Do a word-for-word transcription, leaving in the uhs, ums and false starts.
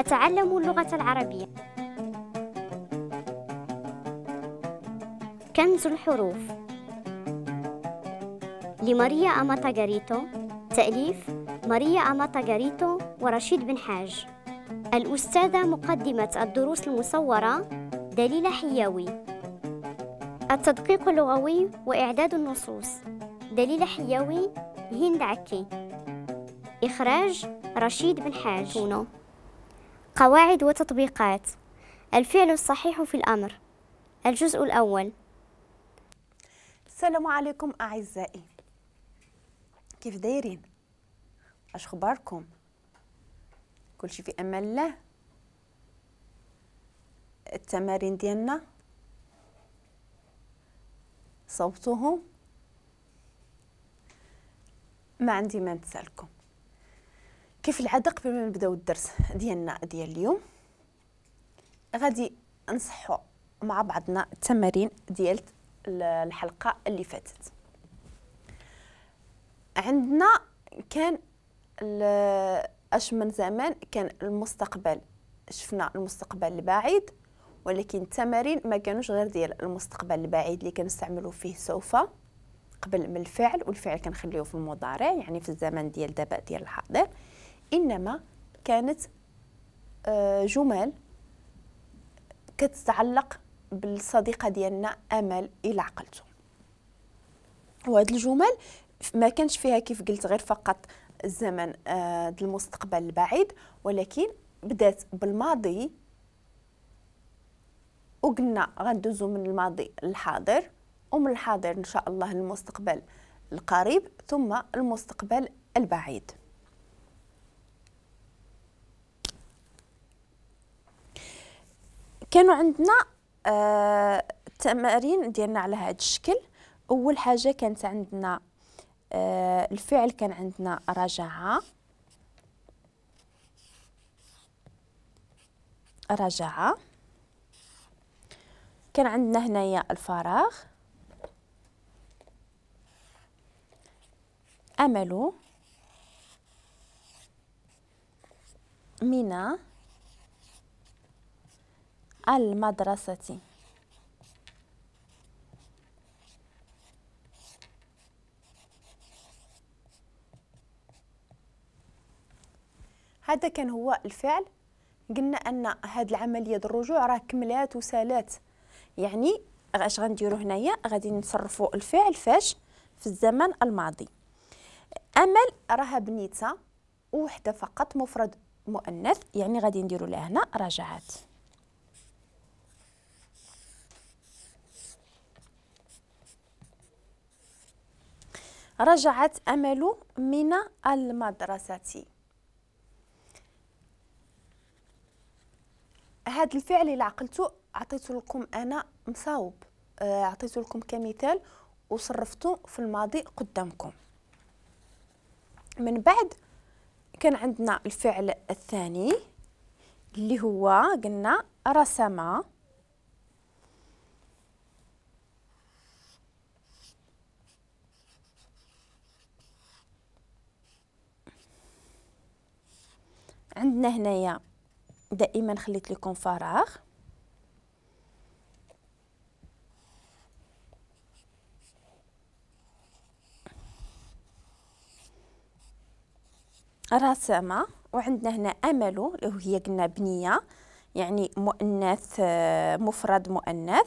أتعلم اللغة العربية. كنز الحروف لماريا أماتا غاريتو، تأليف ماريا أماتا غاريتو ورشيد بن حاج. الأستاذة مقدمة الدروس المصورة دليلة حياوي. التدقيق اللغوي وإعداد النصوص دليلة حياوي، هند عكي. إخراج رشيد بن حاج. قواعد وتطبيقات الفعل الصحيح في الأمر، الجزء الأول. السلام عليكم أعزائي، كيف دايرين؟ اش اخباركم؟ كلشي في امان الله. التمارين ديالنا صوبتوهم؟ ما عندي ما نتسالكم. كيف العادة قبل ما نبداو الدرس ديالنا ديال اليوم غادي نصحوا مع بعضنا التمارين ديال الحلقة اللي فاتت. عندنا كان اش من زمان كان المستقبل، شفنا المستقبل البعيد، ولكن التمارين ما كانوش غير ديال المستقبل البعيد اللي كنستعملوا فيه سوف قبل من الفعل، والفعل كنخليوه في المضارع يعني في الزمن ديال دابا ديال الحاضر، انما كانت جمل كتتعلق بالصديقه ديالنا امل الى عقلته. وهاد الجمل ما كانش فيها كيف قلت غير فقط الزمن المستقبل البعيد، ولكن بدات بالماضي وقلنا غندوزو من الماضي للحاضر، ومن الحاضر ان شاء الله للمستقبل القريب، ثم المستقبل البعيد. كانوا عندنا آه التمارين ديالنا على هذا الشكل. اول حاجة كانت عندنا آه الفعل، كان عندنا رجع، رجع، كان عندنا هنايا الفراغ، أمل، من المدرسة. هذا كان هو الفعل. قلنا أن هذه العملية الرجوع راه كملات وسالات، يعني اش غنديرو هنايا؟ غادي نصرفوا الفعل فاش في الزمن الماضي. امل راها بنيته وحده فقط، مفرد مؤنث، يعني غادي نديرو لها هنا رجعت. رجعت امل من المدرسة. هذا الفعل اللي عقلته عطيته لكم انا مصاوب، عطيته لكم كمثال وصرفته في الماضي قدامكم. من بعد كان عندنا الفعل الثاني اللي هو قلنا رسم، عندنا هنايا دائما خليت لكم فراغ، رسم، وعندنا هنا امل اللي هي قلنا بنيه يعني مؤنث مفرد مؤنث،